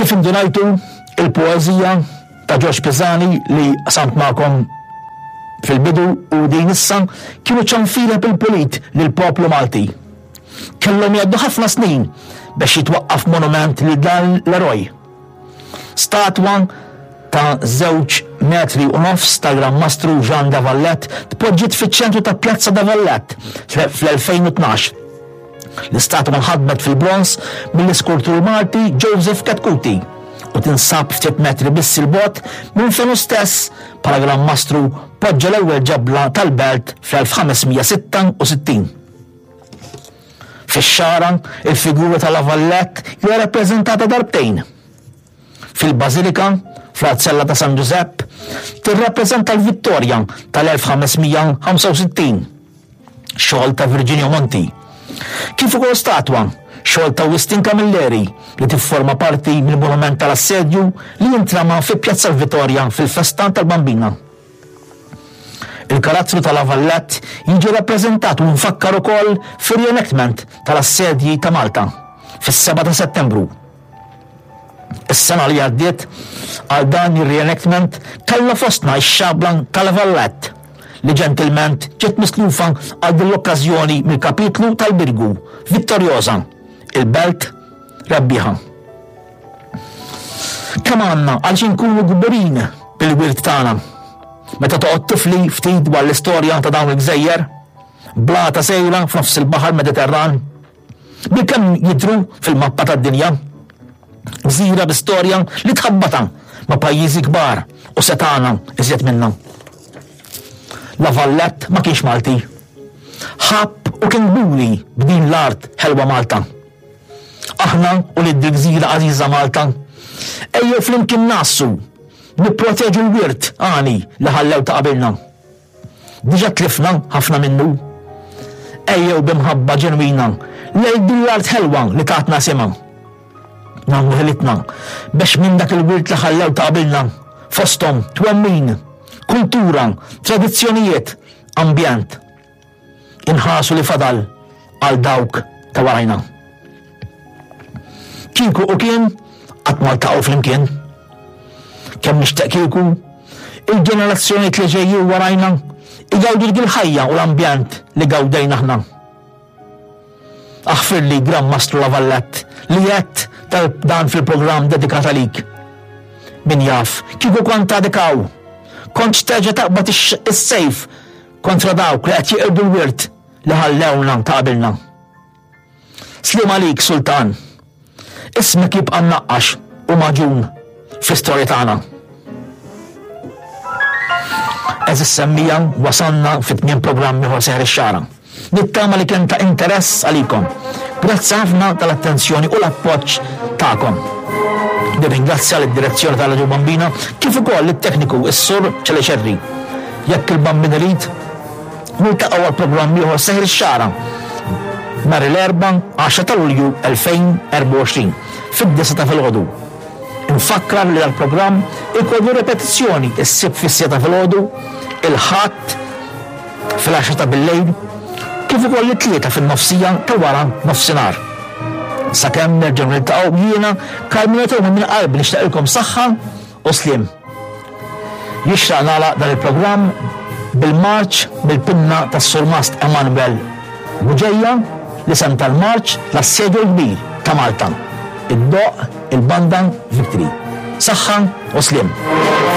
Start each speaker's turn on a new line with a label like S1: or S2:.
S1: Kif indunajtu, il-poeżija ta' Ġorġ Pisani li qsamt magħkom fil-bidu u din issa kienu ċanfira bil-pulit lill-poplu Malti. Kellhom jgħaddu ħafna snin biex jitwaqqaf monument lil dan l-eroj. Statwa ta' żewġ metri u nofs tal-Gran Mastru Jean de Valette tpoġġiet fiċ-ċentru ta' Pjazza de Valette fl-2012. L-istatwa nħadmet fil-bronż mill-iskultur Malti Joseph Chetcuti u tinsab ftit metri biss 'il bogħod minn fejn hu stess bħala Gran Mastru poġġa l-ewwel ġebla tal-belt fl-1566. Fix-Xagħra, il-figura ta' La Valette hija rappreżentata darbtejn. Fil-Bażilika, fl-Arzella ta' San Ġużepp, tirrappreżenta l-Vittorja tal-1565, xogħol ta' Virginio Monti, kif ukoll statwa, xogħol ta' Wistin Camilleri, li tifforma parti mill-Monument tal-Assedju li jintrama fi Pjazza l-Vitorja fil-festa tal-Bambina. Il-karattru ta' La Valette jiġi rappreżentat u mfakkar ukoll fir-reenactment tal-Assedji ta' Malta fis-7 ta' Settembru. Is-sena li għaddiet għal dan ir-reenactment kellna fostna x-xabla ta' La Valette li ġentilment ġiet mislufa għal din l-okkażjoni mill-kapitlu tal-Birgu, Vittoriosa, il-belt rebbieħa. Kemm għandna għaliex inkunu kburin bil-wirt tagħna. Meta toqgħod tifli ftit dwar l-istorja ta' dawn il-gżejjer, blata sejra f'nofs il-baħar Mediterran, bilkemm jidhru fil-mappa tad-dinja. Gżira bi storja li tħabbata ma' pajjiżi kbar u setgħana iżjed minna. La Vallette ma kienx Malti. Ħabb u kien kburi b'din l-art ħelwa Malta. Aħna ulied dil-gżira għażiża Malta, ejjew flimkien ngħassu, nipproteġu l-wirt għani li ħallew ta' qabilna. Diġà tlifna ħafna minnu. Ejjew bi mħabba ġenwina lejn din l-art ħelwa li tatna isimha. Nagħmlu ħilitna biex minn dak il-wirt li ħallew ta' qabilna, fosthom twemmin, kultura, tradizzjonijiet, ambjent, Inħarsu li fadal għal dawk ta' warajna. Kieku u kien qatt ma ltaqgħu flimkien. Kemm nixtieq kieku il-ġenerazzjonijiet li ġejjin warajna igawdu dik il-ħajja u l-ambjent li gawdejna aħna. Aħfirli Gran Mastru La Vallette li għedt dan fil-programm dedikat għalik. Min jaf, kieku kont għadek hawn, kontx terġa' taqbad is-sejf Kontra dawk li qed jeqirdu l-wirt li ħallewna ta' qabilna. Sliem għalik, Sultan. Ismek jibqa' mnaqqax u magħġun fl-istorja tagħna. Għeżież semmija, wasalna fi tmiem programm ieħor Seħer ix-Xagħra. Nittama li kien ta' interess għalikom. Grazzi ħafna tal-attenzjoni u l-appoġġ tagħkom. Nirringrazzja lid-direzzjoni ta' Radio Bambina kif ukoll lit-tekniku s-Sur Ċeleċerri. Jekk il-Bambin irid, niltaqgħu għal programm ieħor Seħer ix-Xagħra nhar il-Erbgħa 10 ta' Lulju 2024 fid-disgħa ta' filgħodu. Infakkar li dal-programm ikollu repetizzjoni s-Sibt fis-siegħa ta' filgħodu, il-Ħadd fil-għaxra ta' billejl, kif ukoll it-Tlieta fin-nofsija ta' wara nofsinhar. Sakemm nerġgħu niltaqgħu jiena Carmelo Theuma minn qalbi nixtieqilkom saħħa u sliem. Jixraq nagħlaq dan il-programm bil-marċ mill-pinna tas-Surmast Emanuel Bugeja, l-isem tal-marċ L-Assedju l-Kbir ta' Malta. Iddoqq il-Banda Victory. Saħħa u sliem.